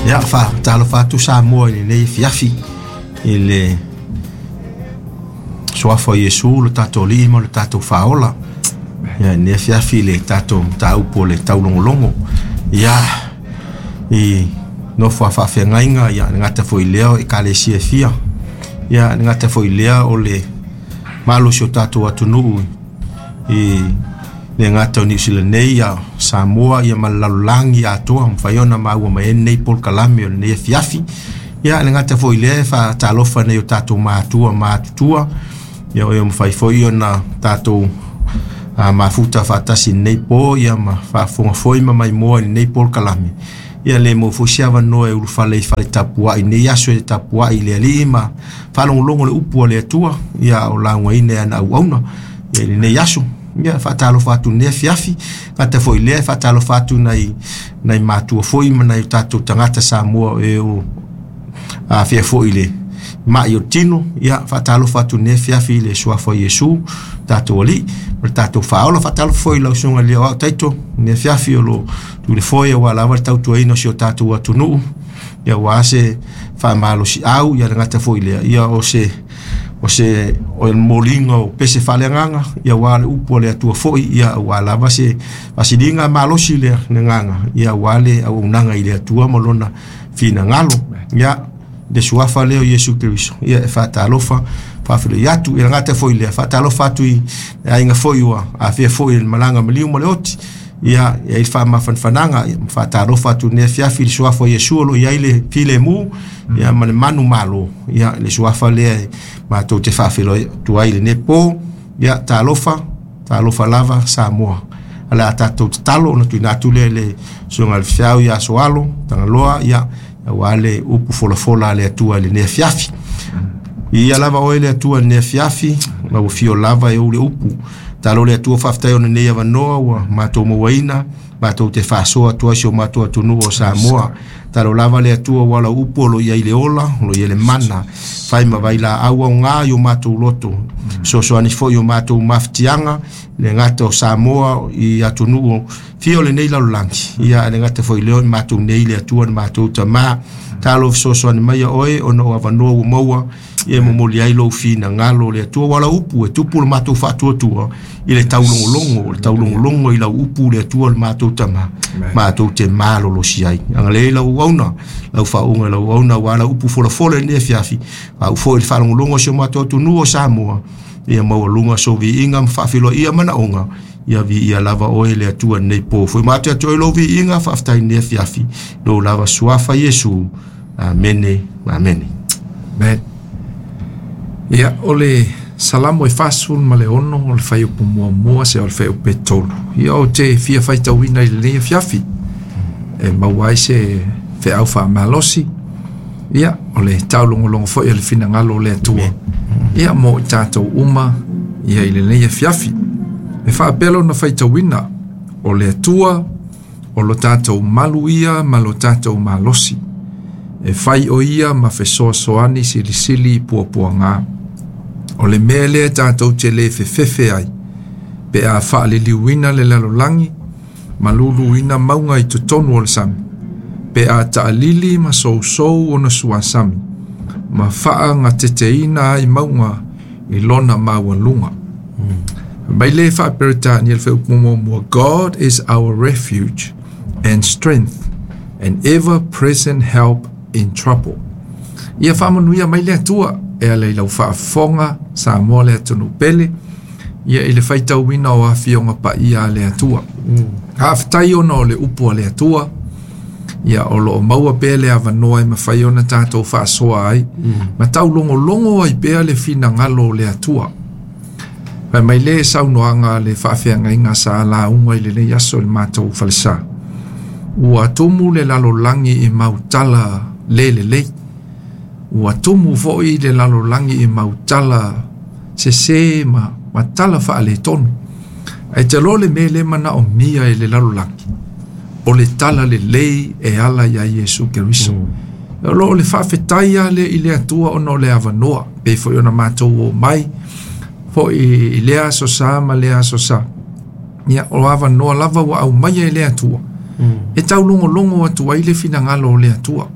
Ia, faatalofa atu Samoa i lenei afiafi i le suafa o Iesu lo tatou Alii ma lo tatou Faaola. Ia, i lenei afiafi i le tatou mataupu o le taulogologo. Ia, i nofo a faafeagaiga, ia, le gata foi i lea o ekalesia e fia. Ia, le gata foi i lea o le malosi o tatou atunuu i le gata o Niu Sila nei, ia Samoa, ia ma le lalolagi atoa, mafai ona maua mai ai lenei polokalame o lenei afiafi. Ia, le gata foi i lea e faatalofa nei o tatou matua matutua, ia o e mafai foi ona tatou mafuta faatasi i lenei po, ia ma faafofoga foi ma maimoa i lenei polokalame. Ia le maua foi se avanoa e ulufale i fale tapuai i lenei aso e tapuai i le Alii ma faalogologo le upu a le Atua, ia o laugaina e ana auauna ia i lenei aso. Ia faatalofa atu i lenei afiafi, gata foi i lea e faatalofa atu nai nai matua foi ma nai o tatou tagata Samoa e o afea foi i le mai o le tino. Ia faatalofa atu i lenei afiafi i le suafa o Iesu, tatou Alii, ma le tatou Faaola. Faatalofa foi i lau susuga i le Aoao Taito, lenei afiafi o lo tu le foe aua lava le tautuaina o si o tatou atunuu, ia aua se faamalosiau, ia le gata foi i lea, ia o se o le moliga o pese faaleagaga, ia aua le upu a le Atua foi, ia aua lava se faasiliga malosi le agaga, ia aua le auaunaga i le Atua ma lona finagalo. Ia le suafa lea o Iesu Keriso, ia e faatalofa faafeiloai atu. Ia le gata foi i lea, faatalofa atu i le aiga foi ua afea foi i le malaga maliu ma le oti, ia e ai le faamafanafanaga, ia ma faatalofa atu i lenei afiafi i le suafa o Iesu o lo o i ai le filemu, ia ma le manumalo, ia le suafa lea e matou te faafeiloai atu ai i lenei po. Ia talofa, talofa lava Samoa. O le a tatou tatalo ona tuuina atu lea i le susuga i le Feau ia Soalo Tagaloa, ia aua le upu folafola a le Atua i lenei afiafi. Ia lava oe le Atua i lenei afiafi, lau afio lava e ou le upu. Talo le Atua faafetai ona nei avanoa ua matou mauaina, matou te faasoa atu ai si o matou atunuu o Samoa. Talo lava le Atua ua lau upu o lo i ai le ola, o lo i ai le mana, fai ma vailaau aoga i o matou loto. Fesoasoani foi i o matou mafatiaga, le gata o Samoa i atunuu fia o lenei lalolagi, ia le gata foi lea o matou nei le Atua le matou Tama. Talo fesoasoani mai ia oe ona o avanoa ua maua, ia momoli ai lou finagalo le Atua ua lau upu e tupu le matou faatuatua i le taulogologo, le taulogologo i lau upu le Atua le matou Tama, matou te malolosi ai. Agalelei lau auauna, lau faauuga i lau auauna aua lau upu folafola i lenei afiafi, au foi i le faalogologo o si o matou atunuu o Samoa, ia maualuga sou viiga ma faafeiloaia manaoga, ia viia lava oe le Atua i lenei po. Foi matou atu ai lou viiga, faafetai i lenei afiafi, lou lava suafa Iesu. Amene, amene. Amen. Ia, o le Salamo e 46 o le fuaiupu muamua seia oo i le fuaiupu e 3. Ia, ou te fia faitauina i lenei afiafi e maua ai se feau faamalosi. Ia, o le taulogologo foi o le finagalo o le Atua. Ia, mo i tatou uma ia i lenei afiafi. E faapea lona faitauina, o le Atua o lo tatou malu ia ma lo tatou malosi. E fai o ia ma fesoasoani silisili i puapuaga. O le mea lea tatou te le fefefe ai, pe a faaliliuina le lalolagi ma luluina mauga i totonu o le sami, pe a taalili ma sousou ona suasami, ma faagateteina ai mauga i lona maualuga. Mai le faa-Peretania le fuaiupu muamua, God is our refuge and strength and ever-present help in trouble. Ia faamanuia mai le Atua e ala i lau faafofoga Samoa le atunuu pele, ia i le faitauina o afioga paia a le Atua. Faafetai ona o le upu a le Atua, ia o lo o maua pea le avanoa e mafai ona tatou faasoa ai, ma taulogologo ai pea le finagalo o le Atua. Fai mai le saunoaga a le faafeagaiga sa lauga i lenei aso i le matou falesa. Ua tumu le lalolagi i mautala le lelei. Ua tumu foi le lalolagi i mautala sesē ma tala faaletonu. Ae te iloa le mea lea e manaomia e le lalolagi, o le tala lelei e ala iā Iesu Keriso. O lo o le faafetai lava lea i le Atua ona o le avanoa, pei foi ona matou omai foi i lea aso sa ma lea aso sa. Ia, o avanoa lava ua aumaia e le Atua, e taulogologo atu ai le finagalo o le Atua.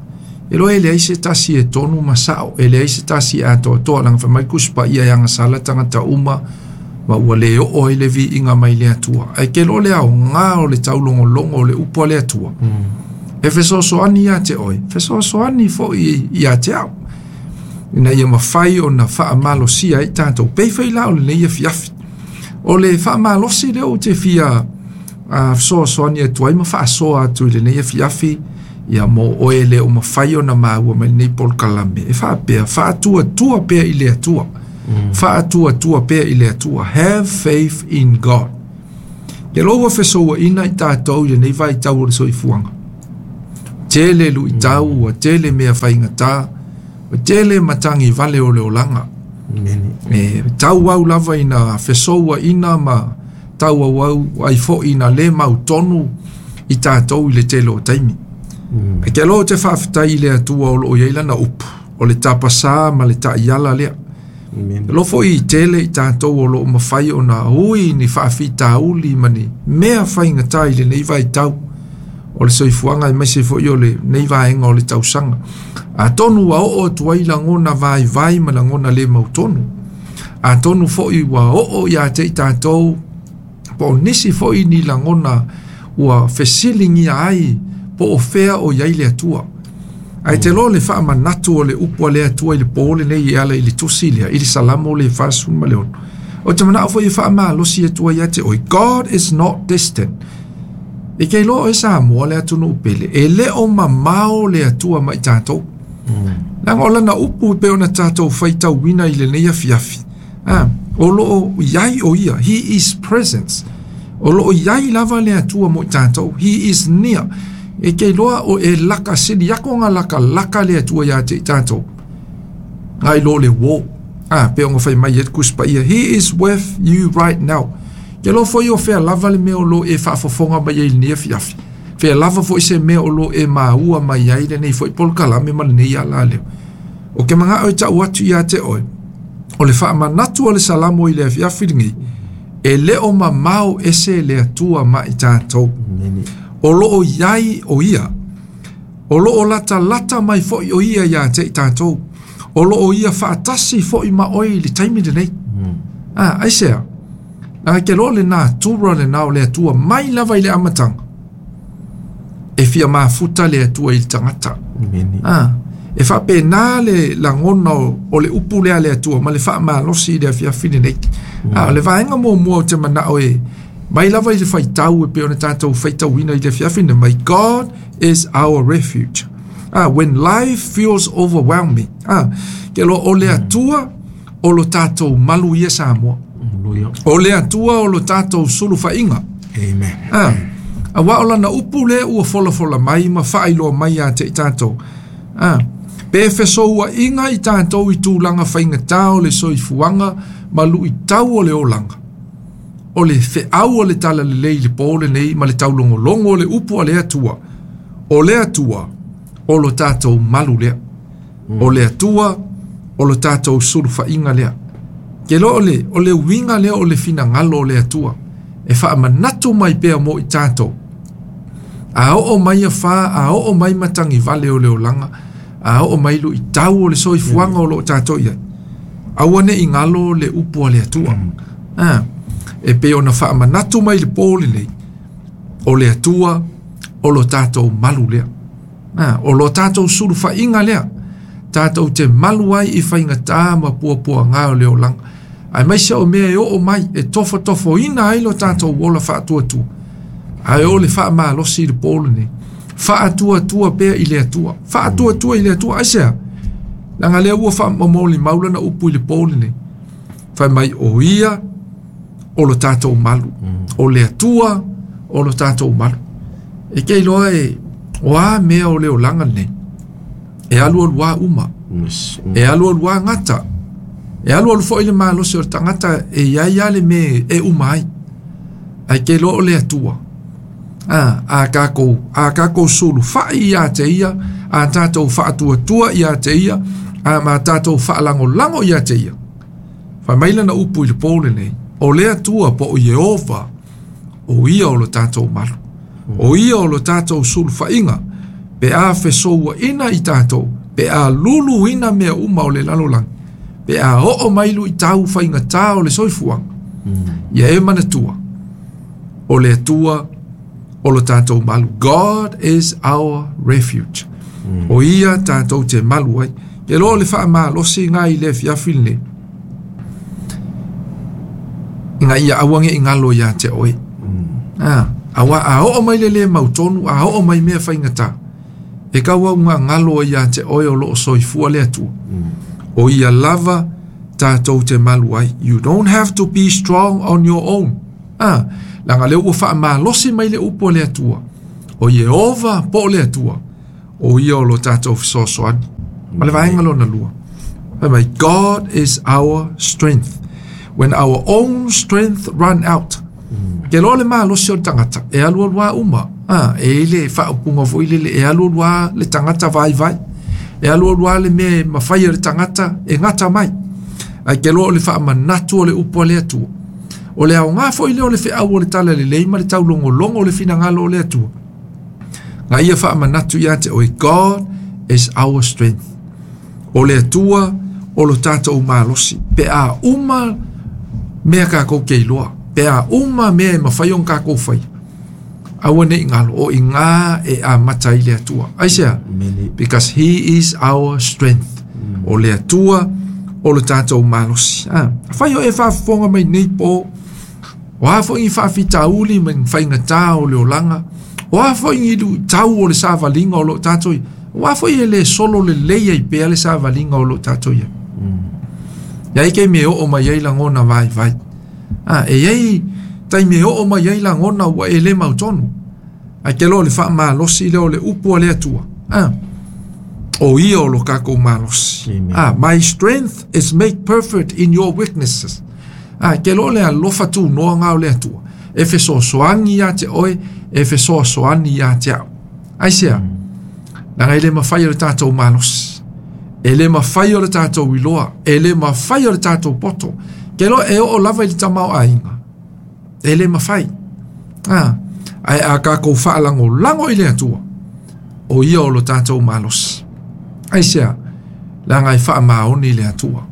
E loa e leai se tasi e tonu ma sa'o, e leai se tasi e atoatoa, laga fai mai le Tusi Paia e agasala tagata uma ma ua lē oo ai le viiga mai le Atua. Ae ke loa le aogā o le taulogologo o le upu a le Atua, e fesoasoani iā te oe, fesoasoani foʻi iā te a'u, ina ia mafai ona faamalosia ai tatou. Pei foi la o lenei afiafi, o le faamalosi lea ou te fia fesoasoani atu ai ma faasoa atu i lenei afiafi, ia mo oe le o mafai ona maua mai lenei polokalame, e faapea, faatuatua pea i le Atua. Faatuatua pea i le Atua. Have faith in God. Ke loa ua fesouaʻina i tatou i lenei vaitau o le soifuaga, tele luʻitau, ua tele mea faigatā, ua tele matagi vale o le olaga. E tauau lava ina fesouaʻina ma tauauau ai foʻi ina lē mautonu i tatou i le tele o taimi. E ke loa ou te faafetai i le Atua o loo i ai lana upu, o le tapasā ma le taʻiala lea. E loa foʻi i tele i tatou o loo mafai ona ui ni faafitauli ma ni mea faigatā i lenei vaitau o le soifuaga, aemaise foʻi o lenei vaega o le tausaga. Atonu ua oo atu ai lagona vaivai ma lagona lē mautonu. Atonu foʻi ua oo iā te i tatou po o nisi foʻi ni lagona ua fesiligia ai po o fea o iai le Atua. Ae te loa le faamanatu o le upu a le Atua i le pō lenei e ala i le tusi lea, i le Salamo le 46. O te manao foi e faamalosi atu ai ia te oe, God is not distant. E ke iloa oe Samoa le atunuu pele, e le o mamao le Atua mai tatou. Leaga o lana upu e pei ona tatou faitauina i lenei afiafi, o loo iai o ia, He is presence. O loo iai lava le Atua mo i tatou, He is near. E ke iloa o e laka sili ako nga laka laka le Atua iā te i tatou, ngai lo le uō. Pe ona fai mai e le Tusi Paia, He is with you right now. Ke loa foi o fea lava le mea o lo e faafofoga mai ai i lenei afiafi, fea lava foi se mea o lo e maua mai ai lenei foi polokalame ma lenei ala leo. O ke manaʻo e taʻu atu iā te oe, o le faamanatu o le Salamo i le afiafi lenei, e le o mamao ese le Atua ma i tatou. O loo iai o ia, o loo latalata mai foʻi o ia iā te i tatou, o loo ia faatasi foʻi ma oe i le taimi lenei. Aisea, laga ke loa le natura lenā o le Atua mai lava i le amataga, e fia mafuta le Atua i le tagata. E faapena le lagona o le upu lea a le Atua ma le faamalosi i le afiafi lenei. O le vaega muamua o te manao e mai lava i le faitau e pei ona tatou faitauina i le afiafi lenei, my God is our refuge. When life feels overwhelming. Ke loa o le Atua o lo tatou malu ia Samoa. O le Atua o lo tatou sulufaʻiga. Amen. Auā o lana upu lea ua folafola mai ma faailoa mai iā te i tatou. Pe fesouaʻiga i tatou i tulaga faigatā o le soifuaga ma luʻitau o le olaga, o le feʻau o le talalelei i le pō lenei ma le taulogologo o le upu a le Atua, o le Atua o lo tatou malu lea. O le Atua o lo tatou sulufaʻiga lea. Ke loa o le uiga lea o le finagalo o le Atua, e faamanatu mai pea mo i tatou. A oo mai afā, a oo mai matagi vale o le olaga, a oo mai luʻitau o le soifuaga o loo tatou iai, aua neʻi galo le upu a le Atua. E pei ona faamanatu mai le pō lenei, o le Atua o lo tatou malu lea. O lo tatou sulufaʻiga lea, tatou te malu ai i faigatā ma puapuagā o le olaga, aemaise o mea e oo mai e tofotofoina ai lo tatou ola faatuatua. Ae o le faamalosi i le pō lenei, faatuatua pea i le Atua, faatuatua i le Atua. Aisea, laga lea ua faamomoli mau lana upu i le pō lenei, fai mai o ia o lo tatou malu, o le Atua o lo tatou malu. E ke iloa e o a mea o le olaga lenei, e alualuā uma, e alualuā gata, e alualu foʻi le malosi o le tagata e iai a le mea e uma ai. Ae ke iloa o le Atua, a takou sulufaʻi iā te ia, a tatou faatuatua iā te ia, a ma tatou faalagolago iā te ia, fai mai lana upu i le pō lenei, o le Atua po o Ieova, o ia o lo tatou malu, o ia o lo tatou sulufaʻiga. Pe a fesouaina i tatou, pe a luluina mea uma o le lalolagi, pe a oo mai luitau faigata o le soifuaga, ia e manatua, o le Atua o lo tatou malu. God is our refuge. O ia tatou te malu ai. Ke loa o le faamalosi ga i le afiafi lenei, ina ia aua ne i galo ia te oe. Aua a oo mai le lē mautonu, a oo mai mea faigata, e tauau galo ai ia te oe o loo soifua le Atua. O ia lava tatou te malu ai. You don't have to be strong on your own. Laga lea ua faamalosi mai le upu a le Atua. O Ieova po o le Atua, o ia o lo tatou fesoasoani. Ma le vaega lona lua. Fai mai, God is our strength. When our own strength run out. Ke loa le malosi o le tagata, e alu alu uma. E i le faaupuga foi lele, e alu alu le tagata vaivai. E alu alu le mea e mafai e le tagata e gata mai. Ae ke loa o le faamanatu o le upu a le Atua. O le aoga foi lea o le feau o le talalelei ma le taulogologo o le finagalo o le Atua. Ga ia faamanatu ia te oe, God is our strength. O le Atua o lo tatou malosi. Pe a uma mea kākou ke iloa. Pe a uma mea e mafai ona kākou fai. Aua ne i galo, o iga e amata ai le Atua. Aisea? Because he is our strength. O le Atua o lo tatou malosi. Afai o e faafofoga mai nei po, o a foi ni faafitauli ma ni faigata o le olaga, o a foi ni luitau o le savaliga o loo tatou ia, o a foi e lē solo lelei ai pea le savaliga o loo tatou ia. Ia ai taimi e oo mai ai lagona vaivai. E iai taimi e oo mai ai lagona ua e lē mautonu. Ae ke loa o le faamalosi lea o le upu a le Atua. O ia o lo kākou malosi. My strength is made perfect in your weaknesses. Ke loa le alofa tunoa ga o le Atua. E fesoasoani ia te oe, e fesoasoani ia te au. Aisea? Laga e le mafai o le tatou malosi. E le mafai o le tatou iloa. E le mafai o le tatou poto. Ke loa e oo lava i le tamaoaiga. E le mafai. Ae a kākou faalagolago i le Atua, o ia o lo tatou malosi. Aisea? Laga e faamaoni le Atua.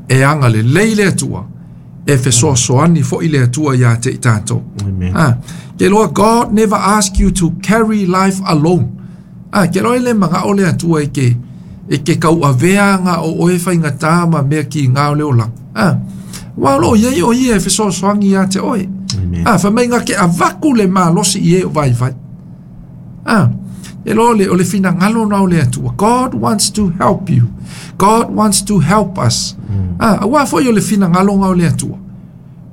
E agalelei le Atua. E fesoasoani foi le Atua ia te i tatou. Ke loa, God never ask you to carry life alone. Ke loa e le magao le Atua e ke tauavea ga o oe faigata ma mea kiga o le olaga. Ua o loo iai o ia e fesoasoani ia te oe. Fai mai ga ke avaku le malosi i e o vaivai. E loa o le finagalo na o le Atua. God wants to help you. God wants to help us. Aua foi o le finagalo ga o le Atua.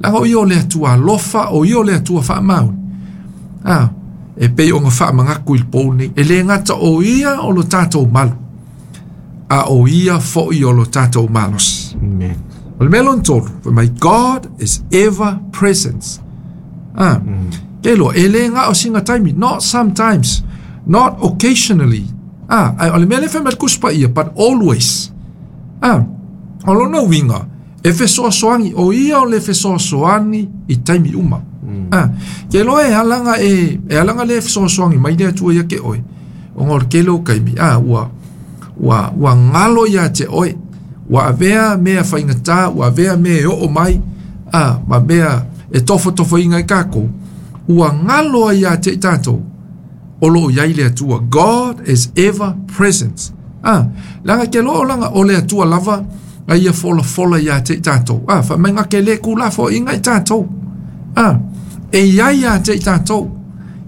Laga o ia o le Atua alofa, o ia o le Atua faamaoni. E pei ona faamanatu i le pou nei. E le gata o ia o lo tatou malu, a o ia foi o lo tatou malosi. Amen. O le mea lona tolu, fai mai, God is ever present. Ke loa, e le ga o singa taimi, not sometimes, not occasionally. Ai, o le mea le fai mai le Tusi Paia, but always. O lona uiga, e fesoasoani, o ia o le fesoasoani i taimi uma. Ke loa e alaga e alaga le fesoasoani mai le Atua ia ke oe. Ona o le tele o taimi, ua galo ia te oe. Ua avea mea faigata, ua avea mea e oo mai, ma mea e tofotofoina i kākou. Ua galo ai ia te i tatou. O loo iai le Atua. God is ever present. Laga ke loa o laga o le Atua lava a ia folafola ia te i tatou. Fai mai ga ke le kulafoaiga i tatou. E iai ia te i tatou.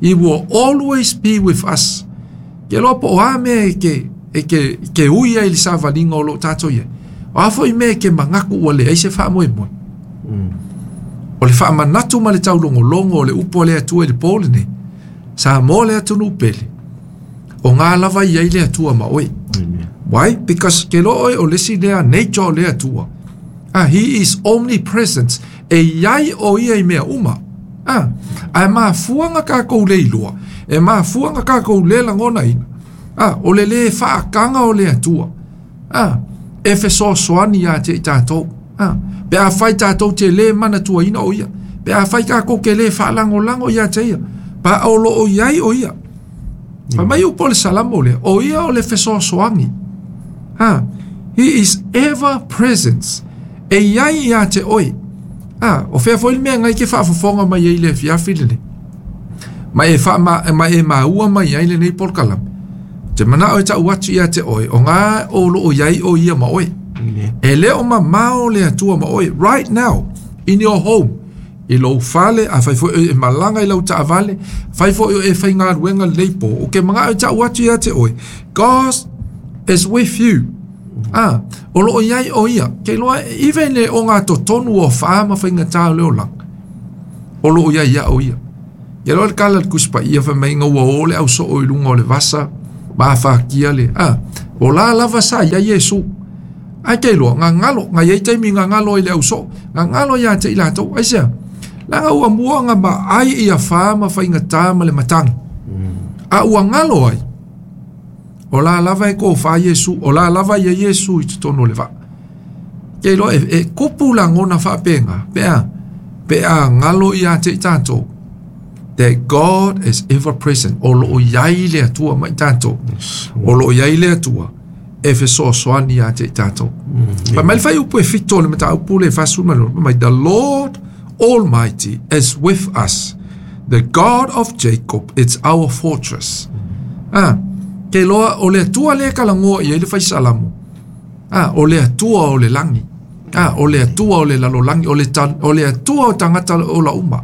He will always be with us. Ke loa po o a mea e ke ui ai le savaliga o loo tatou iai. O a foi mea e ke manatu ua leai se faamoemoe. O le faamanatu ma le taulogologo o le upu a le Atua i le po lenei. Sa mo le atunuu pele. O ngā lava i ai le Atua ma oe. Amen. Why? Because ke loa oe o le isi lea nature o le Atua. He is omnipresent. E iai o ia i mea uma. Ae mafuanga kākou le iloa. E mafuanga kākou le lagonaina. O le lē faakaga o le Atua. E fesoasoani ia te i tatou. Pe a fai tatou te lē manatuaina o ia. Pe a fai kākou ke lē faalagolago ia te ia. Pa o loo iai o ia. Fai mai upu o le Salamo lea, o ia o le fesoasoani. Ha, he is ever present. E iai ia te oe. Ah, o fea foi le mea ngai ke faafofoga mai ai le afiafi lenei. Ma e fa ma, ma e maua mai ai lenei polokalame. Te manao e tau atu ia te oe, o ngā o loo iai o ia ma oe. E le o mamao le Atua ma oe, right now, in your home, i lou fale, a fai foi e malaga i lau taavale, fai foi e faigaluega lenei po, o ke mangao e tau atu ia te oe, God is with you. Ah, o loo iai o ia, ke loa, even le o ngā totonu o wha ma whaingatā o le olaga, o loo iai ia o ia. Ia loa le kala le kuspa ia fa mai ngā ua ole au so o ilunga o le vasa, ma whakia le, ah, o la lava sa ia Iesu. Ai ke loa, ngā ngalo, ngā iei taimi ngā ngalo i le au so, ngā ngalo ia te i lātou, ai sea, la ngā ua mua ngā ma ai ia wha ma whaingatā ma le matangi. A ua ngalo ai, o la lava e ko wha Iesu, o la lava ia Iesu i te tono le vaa. Ke loa, e kupu la ngona whaapenga, pea, pea ngalo ia te i tātou, that God is ever present. O loo iai le Atua mai tātou. O loo iai le Atua e fesoasoani ia te i tātou. Pa mai le fai upu e fito le mata upu le fasu ma mai, the Lord Almighty is with us. The God of Jacob is our fortress. Ah, ke loa o le Atua le kalangoa ia i le fai salamo. Ah, o le Atua o le langi. Ah, o le Atua o le lalolangi, o le o le Atua o tangata o la uma.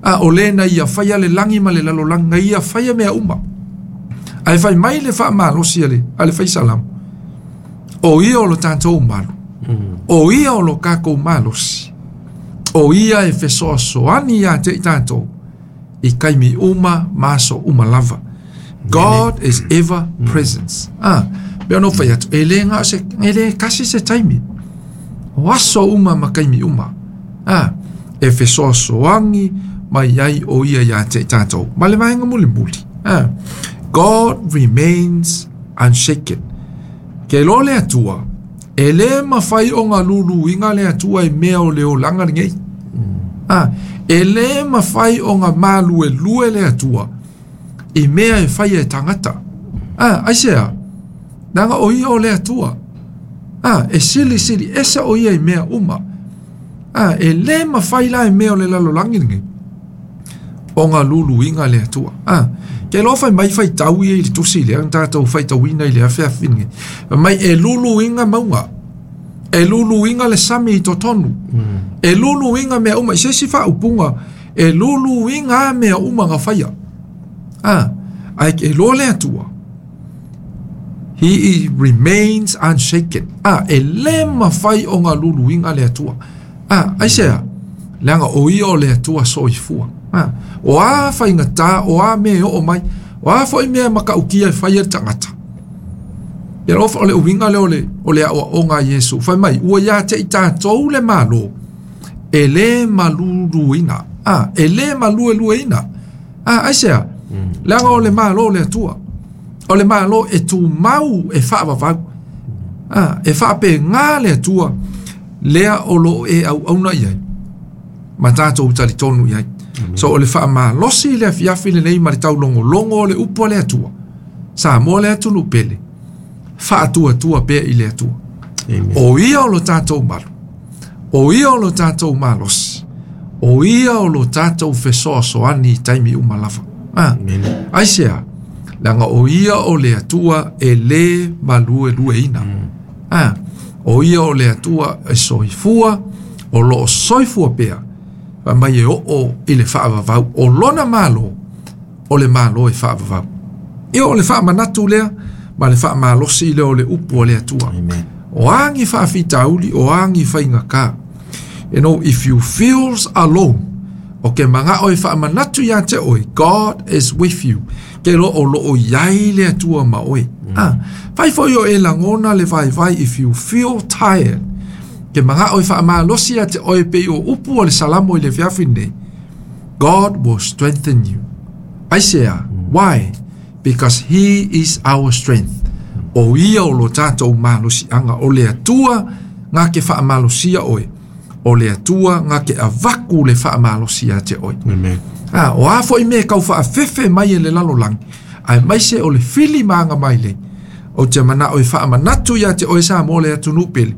Ah, o le na ia whaia le langi ma le lalolangi, na ia whaia mea uma. Ai whai mai le wha malosi ale, ale whai salamo. O ia o lo tātou malu. O ia o lo kākou malosi. O ia e fesoasoani ia te i tātou. I kaimi uma, maso uma lava. God is ever present. Ah, pea no whai atu, e le ngā se, e le kasi se taimi. O aso uma ma kaimi uma. Ah, e fesoasoani mai ai o ia ia te i tātou. Ma le vaenga muli muli. Ah, God remains unshaken. Ke lo le Atua, e le mawhai o ngā lulu inga le Atua e mea o le olanga ngei. Ah, e le mawhai o ngā malu e lue le Atua, i mea e whai e tangata. Ah, ai sea, nanga o ia o le Atua. Ah, e sili sili, esa o ia i mea uma. Ah, e le mawhai la e mea o le lalolangi ngei. O ngā lulu inga le Atua. Ah, ke lo whai mai whai tau ia i le tusi lea, ang tātou whai tauina i le awhea whinge. Mai e lulu inga maunga. E lulu inga le sami i totonu. E lulu inga mea uma. I se si wha upunga, e lulu inga mea uma ngā whaia. Ah, ai ke lo le Atua. He remains unshaken. Ah, e le mawhai o ngā lulu inga le Atua. Ah, ai sea, leanga o ia o le Atua soifua. Ah, o a whaingata, o a me o mai, o a foi mea makaukia e whai e tangata. Ia lofa o le uwinga le o le awa o ngā Yesu. Whai mai, ua ia te i tātou le malo, e le maluluina. Ah, e le maluelueina. Ah, ai sea, leanga o le malo le Atua. O le malo e tū mau e whaavavau. Ah, e whaape ngā le Atua, lea o lo e au auna iai. Ma tātou talitonu iai. So o le whaamalosi le afiafi le nei ma le taulongo longo o le upo le Atua. Sa mo le atunu pele. Whaatua tua pea i le Atua. Amen. O ia o lo tātou malu. O ia o lo tātou malosi. O ia o lo tātou fesoasoani i taimi uma lava. Ah. Amen. Ai sea, langa o ia o le Atua e le malue lueina. Ah. O ia o le Atua e soifua, o lo soifua pea. Fa mai e o i le whaavavau, o lona malo, o le malo e whaavavau. Ia o le whaamanatu lea, ma le whaamalosi lea o le upu o le Atua. Amen. O angi whaafitauli, o angi whaingaka. You know, if you feel alone, o ke manga o e whaamanatu ia te oe, God is with you. Ke lo o lo o iai le Atua ma oe. Ah, whai foi o e langona le vai vai, if you feel tired, ke manga o e whaamalosi ia te oe pe o upu o le salamo i le fiafi nei, God will strengthen you. Ai sea, why? Because he is our strength. O ia o lo tātou malosi anga, o le Atua ngā ke whaamalosia oe. O le Atua ngā ke avaku le whaamalosia te oe. Amen. Ah, o a foi me kau whaafefe mai e le lalolangi. Aemaise o le fili ma agamailei. Ou te manao e faamanatu ia te oe Samoa le atunuu pele.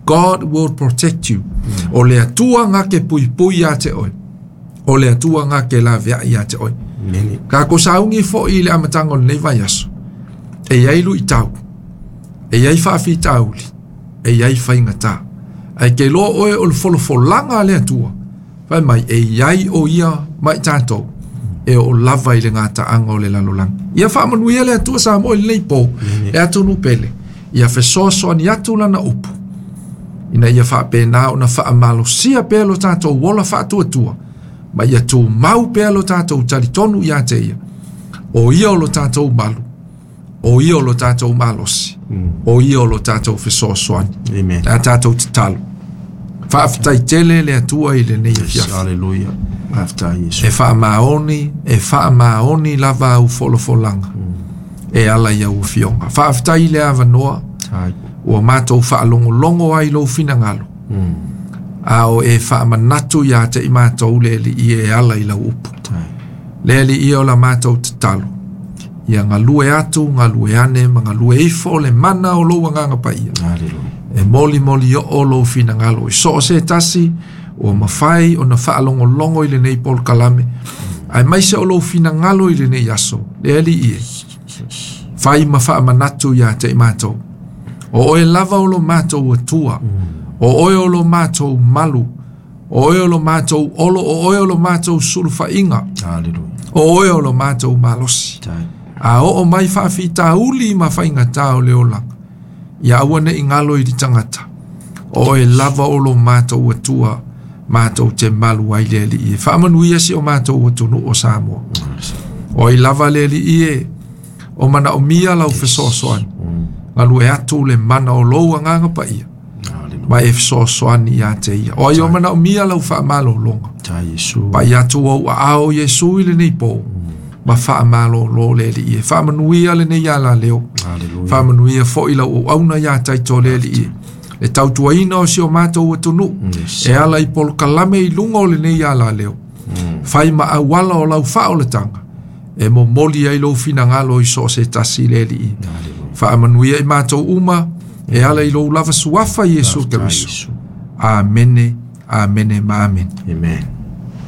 God will protect you. O le Atua gake puipui ia te oe. O le Atua gake laveai ia te oe. Tatou saugi foi i le amataga o lenei vaiaso. E iai luitau. E iai faafitauli. E iai faigata. Ae ke iloa oe o le folafolaga a le Atua. Fai mai e iai o ia ma i tatou. E oo lava i le gataaga o le lalolagi. Ia faamanuia le Atua Samoa i lenei po. Le atunuu pele. Ia fesoasoani atu lana upu. Ina ia faapena ona faamalosia pea lo tatou ola faatuatua. Ma ia tumau pea lo tatou talitonu ia te ia. O ia o lo tatou malu. O ia o lo tatou malosi. O ia o lo tatou fesoasoani. Amen. Le a tatou tatalo. Faafetai tele le Atua i lenei afiafi. Hallelujah. Faafetai Iesu. E faamaoni lava au folafolaga e ala i au afioga. Faafetai i le avanoa ua matou faalogologo ai lou finagalo. A o e faamanatu ia te i matou le Alii e ala i lau upu. Le Alii o la matou tatalo. Ia galue atu, galue ane, ma galue ifo le mana o lou agaga paia. Hallelujah. E molimoli oo lou finagalo i so o se tasi ua mafai ona faalogologo i lenei polokalame. Aemaise o lou finagalo i lenei aso. Le Alii e, fai ma faamanatu ia te i matou. O oe lava o lo matou Atua. O oe o lo matou malu. O oe o lo matou olo. O oe o lo matou sulufaiga. Hallelujah. O oe o lo matou malosi. A oo mai faafitauli ma faigata o le olaga. Ia aua ne i galo i le tagata. O oe lava o lo matou Atua, matou te malu ai le Alii e. Faamanuia si o matou atunuu o Samoa. O ai lava le Alii e, o manaomia lau fesoasoani. Galue atu le mana o lou agaga paia. Ma e fesoasoani ia te ia. O ai o manaomia lau faamalologa. Pai atu au aao Iesu i lenei po. Ma faamalolo le Alii e. Faamanuia lenei alaleo. Faamanuia foi lau auauna ia taito le Alii e. Le tautuaina o si o matou atunuu. E ala i polokalame i luga o lenei alaleo. Fai ma auala o lau faaolataga. E momoli ai lou finagalo i so o se tasi le Alii. Faamanuia i matou uma. E ala i lou lava suafa Iesu Keriso. Amene, amene ma amene. Amen.